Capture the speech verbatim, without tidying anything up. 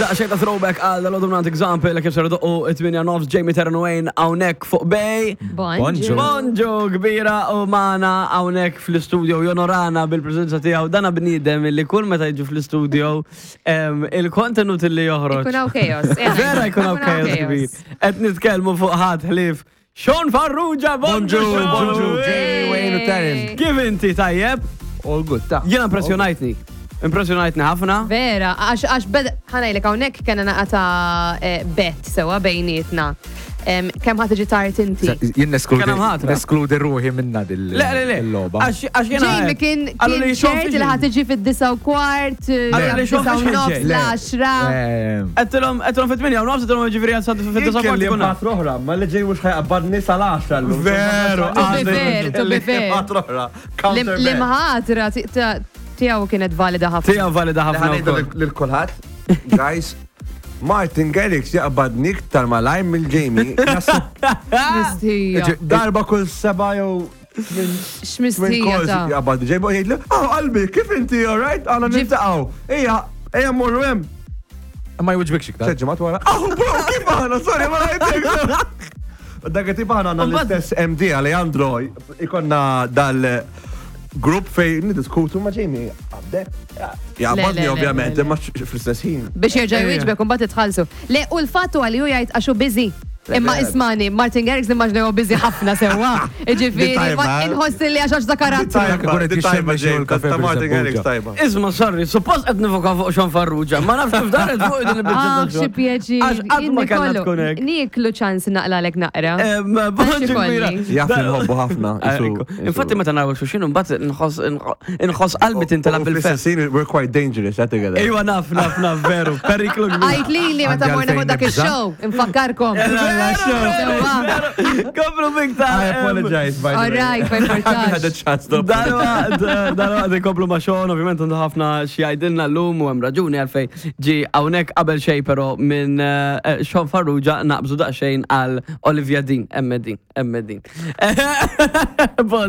Daqsxejn ta' throwback għal dal-għodu minn Example, kif ser idoqqu it-tmienja nofs, Jamie Terran hawnhekk fuq Bay. Bonġu. Bonġu kbira u magħna hawnhekk fl-studio jonorana bil-prezenza tiegħu dana bniedem li kull meta jiġu fl-studio em, il-kontenut li joħroġ. Ikun hawn chaos. eh, Vera jkun hawn chaos kbir. Qed nitkellmu fuq ħadd ħlief Sean Farrugia, bonġu! Bonġu, bonġu, Sean! Jamie, Wayne u Terence. Kif inti tajjeb? All good, ta. Jiena impressjonajtni. Impressjonajtni ħafna. Vera, għax għax bed ħa ngħidlek hawnhekk kena naqra ta' eh, bet sewa bejnietna. Em, Kemm ħa tiġi tard inti? Jien neskludi Kien hemm ħatra. neskludi ruħi minna dil Le, le, le. il-logħba. Għax għax jiena. Jamie kien Għallu kien li Sean ċert li ħa tiġi fid-disa u kwart, Għallu li Sean disa u Fisher nofs, ġej. l-għaxra. Għedtilhom, għedtilhom fit-tmienja u nofs, għedtilhom ġifieri għal fid-disa Kelli kwart kuna. ħatra oħra, ma li ġej mhux ħa jqabbadni sal-għaxra llum. Veru, To be fair, to be fair. Ħatra oħra. Counter Li mħatra tiegħu kienet valida ħafna. Tiegħu valida ħafna Ħa ngħidu wkoll. lil kulħadd, guys, Martin Garrix jaqbadni iktar malajr mill-Jamie. Naħseb X'mistija. Darba kull seba jew minn X'mistija calls ta' jaqbadni. Ġej jgħidli, "Oh, qalbi, kif inti, all right? Għana Ġif- niltaqgħu. Ejja, ejja mmorru hemm." Ma jwiġbikx iktar. Tliet ġimgħat wara. Oh, bro, kif aħna? Sorry, ma rajtek. Dak tip aħna għandna l-istess M D Alejandro, ikollna dal grupp fej nidiskutu ma' Jamie. Għabdek. Jaqbadni Le, le, le, ovvjament, le, le. imma fl-istess ħin. Biex jerġa' jwieġbek u mbagħad itħallsu. Le, u l-fattu għalli hu jgħid għaxu busy. Imma vera. ismani, Martin Garrix nimmaġna huwa busy ħafna sewwa. Ġifieri, Di tajba, ma eh? inħoss li għax għax da karattru. Tajba, Ikun qed di tajba jixxemmex jew Jamie, il-kafe ta' Martin bil-żebbuġa. Garrix tajba. Isma, sorry, suppost qed nifoka fuq Sean Farrugia, ma nafx kif daret fuq din il-biċċa Ah, ta' xi Sean. pjaċir. Għax qatt ma Jien kellna nikolu- tkun hekk. Niklu ċans naqlalek naqra. Em, Bonġu kbira. ikolli. Jaf li nħobbu ħafna. Ekku. Infatti meta naraw xulxin mbagħad nħoss inħoss qalbi tintelab bil-ferħ. Fl-istess we're quite dangerous, eh, together. Ejwa naf, naf, naf, veru, periklu kbir. Għajt li li meta Għandi morna fuq għalfejn dak nibża'. il-show, infakkarkom. Sewwa. Komplu biktar. I apologize, by the All way. right, ma I haven't had a importax. chance to apologize. Dalwaqt ikomplu ma' Sean, ovvjament għandu ħafna xi jgħidilna llum u hemm raġuni għalfejn ġi hawnhekk qabel xejn però minn eh, Sean Farrugia naqbżu daqsxejn għal Olivia Dean, hemm din, hemm din. Bon